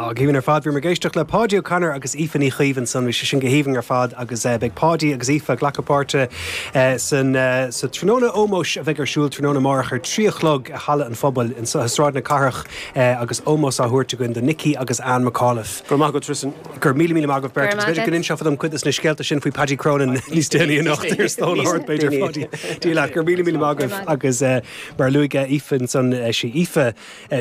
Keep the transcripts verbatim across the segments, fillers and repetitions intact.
Á, go haoibhinn ar fad. Bhíomar ag éisteacht le Paudie O'Connor agus Aoife Ní Chaoimh ansan. Bhí sé sin go haoibhinn ar fad agus beidh Paudie agus Aoife ag glacadh páirte san sa tráthnóna ómóis a bheidh ar siúl tráthnóna amárach ar trí a chlog i Halla an Phobail anseo i Sráid na Cathrach agus ómós á thabhairt againn do Nicky agus Anne McAuliffe. Go raibh maith agat, Tristan. Go raibh míle míle maith agaibh beirt agus b'fhéidir go n-inseofá dom cuid de na scéalta sin faoi Paddy Cronin níos déanaí anocht ar stól ard b'fhéidir Phaudie. Dia leat, go raibh míle míle maith agaibh agus mar a luaigh Aoife ansan sí Aoife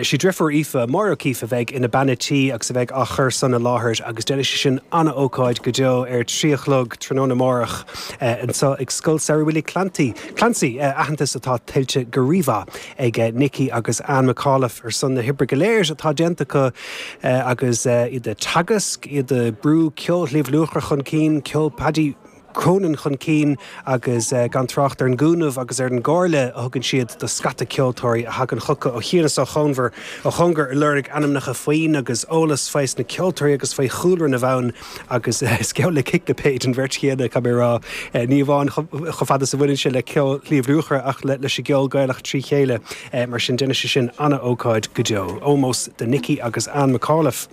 sí deirfiúr Aoife, Máire O'Keeffe a bheidh ina bean a' tí agus a bheidh á chur san i láthair agus déanfaidh sé sin an-ócáid go deo ar trí a chlog tráthnóna amárach anseo ag Scoil Samhraidh Willie Clancy, Clancy, aitheantas atá tuillte go rímhaith ag Nicky agus Anne McAuliffe ar son na hoibre go léir atá déanta acu agus iad ag teagasc, iad ag brú ceol Shliabh Luachra chun cinn, ceol Paddy Cronin chun cinn agus gan trácht ar an gcúnamh agus ar an gcomhairle a thugann siad do scata ceoltóirí a thagann chucu ó chian is ó chóngar ó chóngar ag lorg ainmneacha foinn agus eolas faoi na ceoltóirí agus faoi chúlra na bhfonn agus is geall le ciclipéid an bheirt chéanna caithfidh mé a rá ní amháin chomh fada is a bhaineann sé le ceol Shliabh Luachra ach leis an gceol Gaelach trí chéile mar sin déanfaidh sé sin an-ócáid go deo. Ómós do Nicky agus Anne McAuliffe.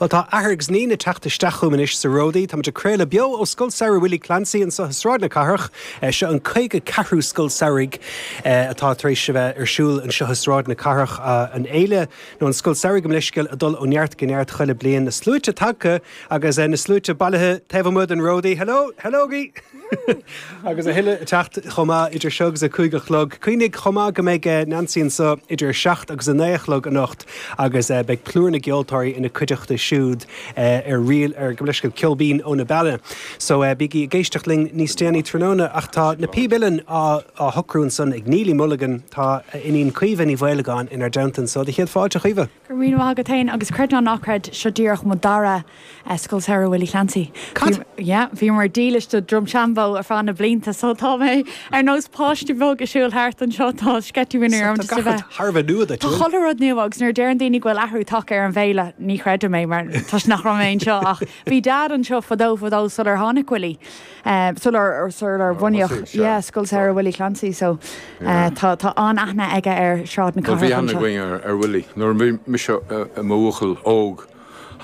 Bhuel tá athair agus níon ag teacht isteach chugam anois sa Ródaí. Táimid ag craoladh beo ó Scoil Samhraidh Willie Clancy anseo i Sráid na Cathrach. Seo an caoga ceathrú Scoil Samhraidh atá tar éis a bheith ar siúl anseo i Sráid na Cathrach. An fhéile nó an Scoil Samhraidh gabh mo leithscéal ag dul ó neart go neart chuile bliain. Na sluaite tagtha agus na sluaite bailithe taobh amuigh den Ródaí. Hello, hello-gi! Agus a thuilleadh ag teacht chomh maith idir seo agus a cúig a chlog. Cuimhnigh chomh maith go mbeidh Nancy anseo idir a seacht agus a naoi a chlog anocht agus beidh plúr na gceoltóirí ina cuideachta siúd ar ríl ar gabh mo leithscéal ceol binn ó na Beanna. So bígí ag éisteacht linn níos déanaí tráthnóna ach tá na píb uilleann á á shocrú ansan ag Neilí Mulligan, tá a iníon Caoimhe Ní Mhaolagáin inár dteannta anso. Do chéad fáilte, a Chaoimhe. Go raibh míle maith agat féin agus creid nó ná creid, seo díreach mo dara Scoil Samhraidh Willie Clancy. Cad? Yeah, bhíomar dílis do Drumshanbo ar feadh na blianta so tá mé ar nós páiste beag ag siúl thart anseo, tá sceitimíní orm just a bheith. Tá gach rud thar a bheith nua duit, Tá chuile rud nua agus nuair a deireann daoine go bhfuil athrú tagtha ar an bhféile, ní chreidim é mar toisc nach raibh mé anseo ach bhí Dad anseo fadó fadó sular tháinig Willie, sular sular bunaíodh yeah, Scoil Samhraidh Willie Clancy so tá tá an-aithne aige ar Shráid na Bhuel bhí Cathrach aithne anseo. againn ar ar Willie nuair a bhí mise i mo bhuachaill óg.